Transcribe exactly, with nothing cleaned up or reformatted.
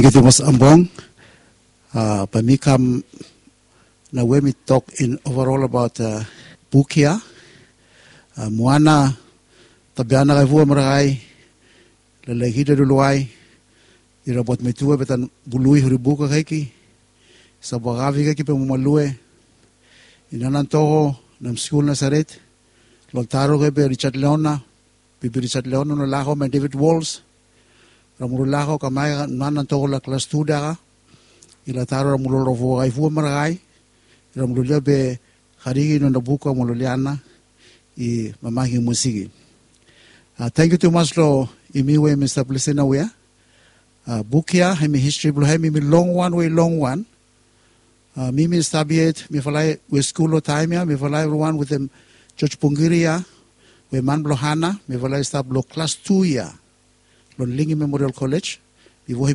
Tangkiu tumas Ambong. Bae mi kam naoia mi tok in overall abaot buk ya. Moana Tabeana Kaivua Marakai, Lelekida Luluai, Irabuat Metua, Betan Bului, Huribuk Kakaiki, Sabua Kavi Kakaiki, Bemuma Lue, Inanantoko, Nam Skul Nasaret, Loltaro Kebe, Richard Leona, Bibi Richard Leona, Nolako, Mai David Walls, Ramuru Lako, Kamai Nanantoko, la klas tu daka, Ilataro, Ramuru Lorofo Kaivua Marakai, Ramuru Lia Be Kariki, Nona Buka, Mololiana, i Mamaki Musiki. Tangkiu tumas lo yumi we yumi stap lisin naoia. Buk ya hemi histri blo hem hemi longwan we i longwan. Mi mi stap yet mifala we skul lo taem ya, mifala evriwan wetem George Bongiri ya, we man blo Hana, mifala i stap lo klas tu ya lo Lingi Memorial College. Bifo